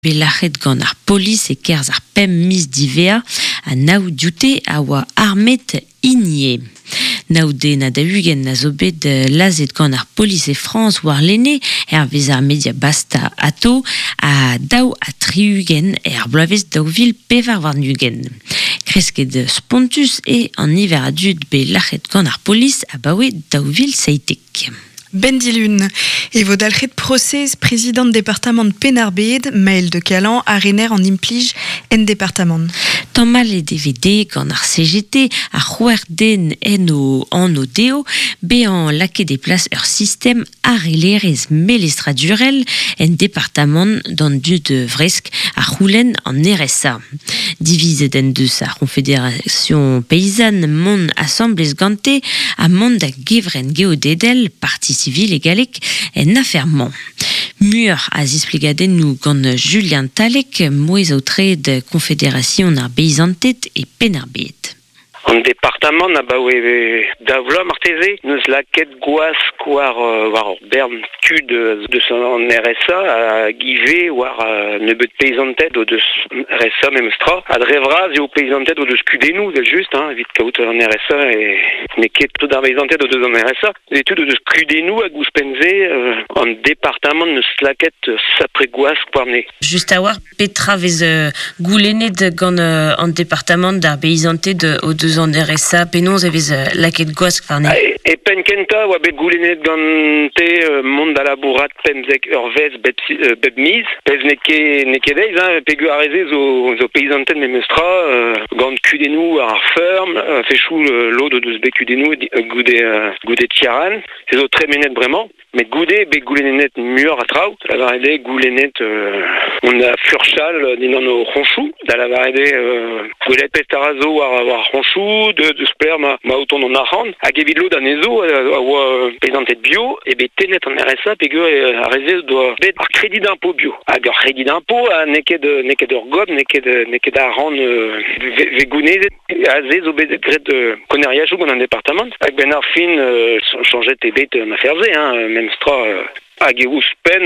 Bet lac'het gant ar polis e-kerzh ar pemp miz diwezhañ ha nav dioute a oa armet hinie. Nav den ha 40 a zo bet lazhet gant ar polis e Frañs warlene hervez ar media Basta Ato ha 62 er bloavezh 2024. Kresket spontus eo an niver a dud bet lac'het gant ar polis abaoe 2017. Benn dilun e vo dalc'het prosez prezidant departamant Penn-ar-Bed, Maël de Calan, ha rener an implij en departamant. Tamallet e vez dezhe gant ar CGT, ar c'hwec'h den en o anv dezho, bezañ lakaet e plas ur sistem harellerezh melestradurel en departamant d'an dud vresk a c'houlenn an RSA. Divizet en deus ar C'honfederasion Peizan mont asambles gante ha mont da gevrenn geodedel, parti civil e galleg, en afer-mañ. Muioc'h a zisplegadennoù gant Julien Talec, mouezh-aotreet Konfederasion ar Beizanted e Penn-ar-Bed. An departamant abaoe daou vloaz marteze n'eus lakaet gwask war war ur bern tud deus an RSA hag ivez war nebeut peizanted o deus RSA memes tra. Ha dre vras eo peizanted o deus kudennoù evel-just hein, evit kaout an RSA e n'eo ket tout ar beizanted o deus an RSA. Et tud o deus kudennoù hag ouzhpenn-se an departamant n'eus lakaet sapre gwask warne. Just a-walc'h Petra 'vez goulennet gant an departamant d'ar beizanted o deus an RSA? Penaos e vez lakaet gwask warne? E penn kentañ oa bet goulennet gante mont da labourat 15 eurvezh bep miz. Pezh n'eo ket n'eo ket aes hein, peogwir ar re-se zo zo peizanted memestra gant kudennoù ar feurm, fechoù lod o deus bet kudennoù goude goude Ciaran. Se zo tremenet bremañ. Met goude bet goulennet muioc'h a traoù, da lavaret eo goulennet on a furchal dindan o c'hoñchoù, da lavaret eo gwelet petra zo war ar c'hoñchoù, deus pelec'h ma, ma o tont an arc'hant, hag evit lod anezho a oa prezantet bio, eo bet tennet an RSA peogwir ar re-se doa bet ar crédit d'impôt bio. Hag ur crédit d'impôt n'eo ket n'eo ket ur gobr, n'eo ket n'eo ket arc'hant vez gounezet. Aze zo bet graet koneriajoù gant an departamant hag benn ar fin soñjet eo bet an afer-se hein, memes tra hag eo ouzhpenn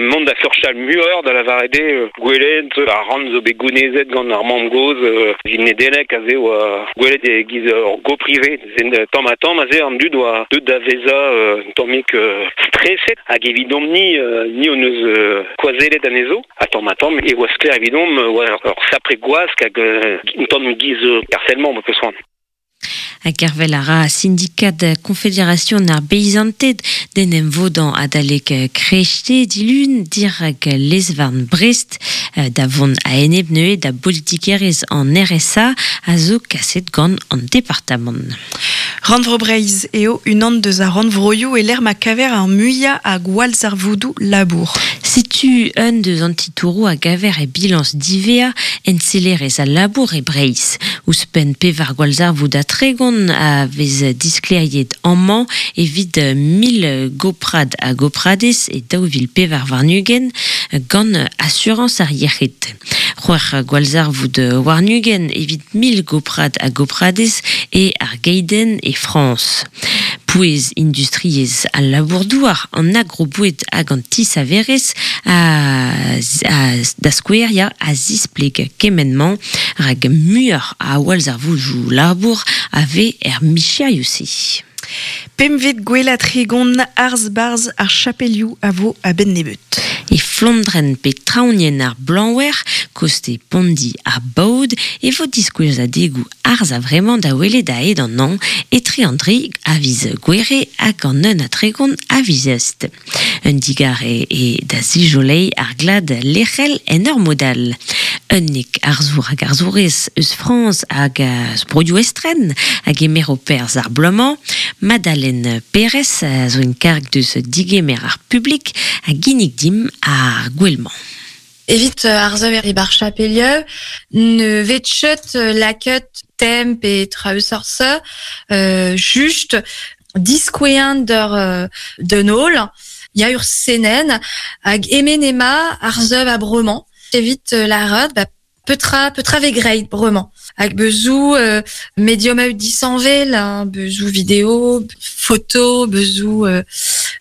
mont da furchal muioc'h da lavaret eo gwelet ar rann zo bet gounezet gant ar mamm-gozh evit Nedeleg aze oa gwelet e-giz ur gopr ivez tamm-ha-tamm aze an dud oa deuet da vezañ un tammig streset hag evidomp-ni ni hon eus koazellet anezho Ha tamm-ha-tamm e oa sklaer evidomp oa ur sapre gwask hag un tamm giz harcèlement ma peus c'hoant. Ha gervel a ra sindikad Konfederasion ar Beizanted d'en em vodañ adalek krechte dilun dirak lez-varn Brest da vont a-enep neuze da bolitikerezh an RSA a zo kaset gant an departamant. Rannvro Breizh eo unan deus ar rannvroioù e-lec'h ma kaver ar muiañ a gwallzarvoudoù labour. Setu un deus an titouroù a gaver e bilañs diwezhañ ensellerezh al labour e Breizh. Ouzhpenn pevar gwallzarvoud ha 30 a vez disklêriet amañ evit 1000 goprad ha gopradez e 2024 gant Asurañs ar Yec'hed. C'hwec'h gwallzarvoud warn-ugent evit 1000 goprad ha gopradez e ar geidenn e Frañs. Pouez industriezh al labour-douar, an agroboued hag an tisaverezh a, a, da skouer ya, a zispleg kement-mañ rak muioc'h a wallzarvoudoù labour a vez er micherioù-se. Pempvet gwellañ 30 arz-barzh ar chapelioù a vo a-benn nebeut. E Flondrenn pe traoñienn ar Blañwer, koste Pondi ha Baod, e vo diskouezadegoù arz a-vremañ da welet a-hed an hañv etre an dri a viz Gouere hag an un ha 30 a viz Eust. Un digarez eo da zijoleiñ ar glad lec'hel en ur mod all. Unnek arzour hag arzourez eus Frañs hag eus broioù estren a gemero perzh ar bloaz-mañ. Madalen Perez a zo en karg deus digemer ar publik a ginnig dimp ar gouel-mañ. Evit ar saver e bar chapelieu, ne vet chet lakaet tem pe traoù sort-se, just diskoueañ d'ur d'un holl, ya ur senenn hag emen ema ar sev a bremañ evit lâret ba. Petra, petra ve greit bremañ. Hag beuzou euh, medium a disanvel, hein, beuzou vidéo, photo, beuzou euh,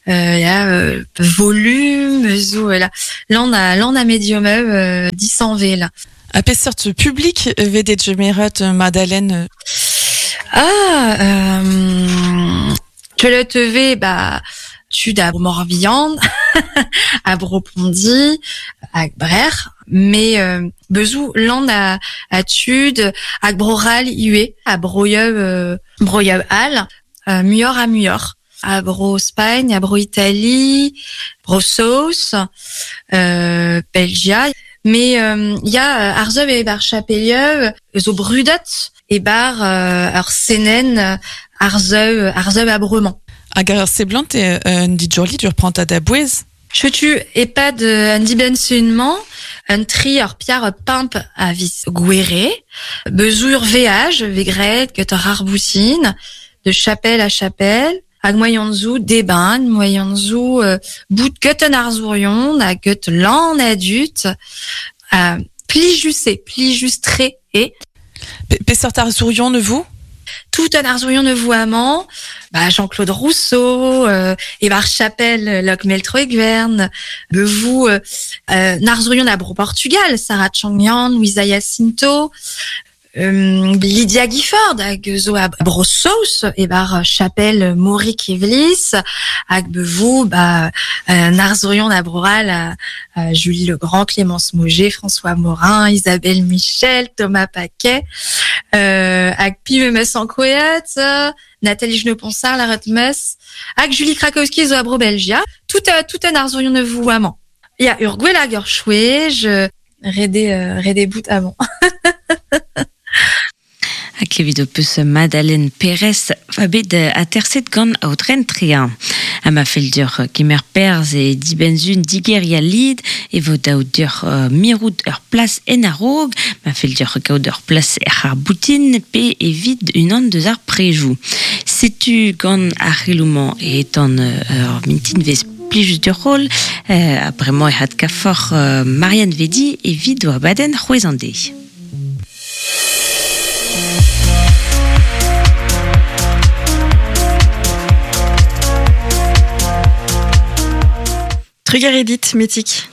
euh, ya, euh, volume, beuzou euh, là. Lan a, lan a medium euh, disanvel. A peseurt public vedet gemeret Madeleine? Ah, euh, le TV, bah, tu da Morbihan, a Bropondi, a Brer, mais euh, bezou lan a, a tud, a Broral iue, a Broyeub, euh, Broyeub al, euh, muior a muior. A Bro Spagne, a Bro Italie, Bro Sauce, euh, Belgia. Mais euh, y a Arzeuv e bar Chapelieu, zo brudet e bar euh, ar senen Arzeuv, Arzeuv a Bremañ. Hag ar seblant e un dijorli ur prantad a bouez? Chetu e pad un dibensunman, un tri ur piar pimp a vis gouere, bezour veaj, vegret, get ur arbousin, de chapelle à chapelle, hag moyenzo deban, moyenzo euh, bout get an arzourion, hag get lan adut, euh, plijuse, plijustre e. Peseurt arzourion ne vous? Tout un arzourion ne voamant, bah, Jean-Claude Rousseau, euh, Evar Chapelle, Locke Meltro-Egvern, Bevou, euh, euh, Narzourion à Bro Portugal, Sarah Changyan, Luisa Jacinto, euh, Lydia Gifford, hag zo a Bro Sauce, ebar Chapelle Mauric Evlis, hag bevou, bah, euh, Narzourion a Broral, à, à Julie Legrand, Clémence Mauger, François Morin, Isabelle Michel, Thomas Paquet, euh, hag Pimemes en Coët, Nathalie Geneponsard, la Retmes, hag Julie Krakowski zo a Bro Belgia, tout, euh, tout un Arzourion ne vouamant. Ya ur gwell hag ur chouej, rede, euh, rede bout avant. Ha klevet ho peus Madeleine Pérez va bet aterset gant aotren trea. Ha ma fell deoc'h kemer perzh e dibenzun digeria lid e vo daou deoc'h uh, mirout ur plas en a-raok, ma fell deoc'h kaout ur plas er ar boutin pe evit unan deus ar prejou. Setu gant ar c'heloumañ e etan ur mintin vez plijus d'ur rol, euh, ha bremañ e had kafor euh, Marianne Vedi evit o abadenn c'hwezan de. Trugaredit, Metik.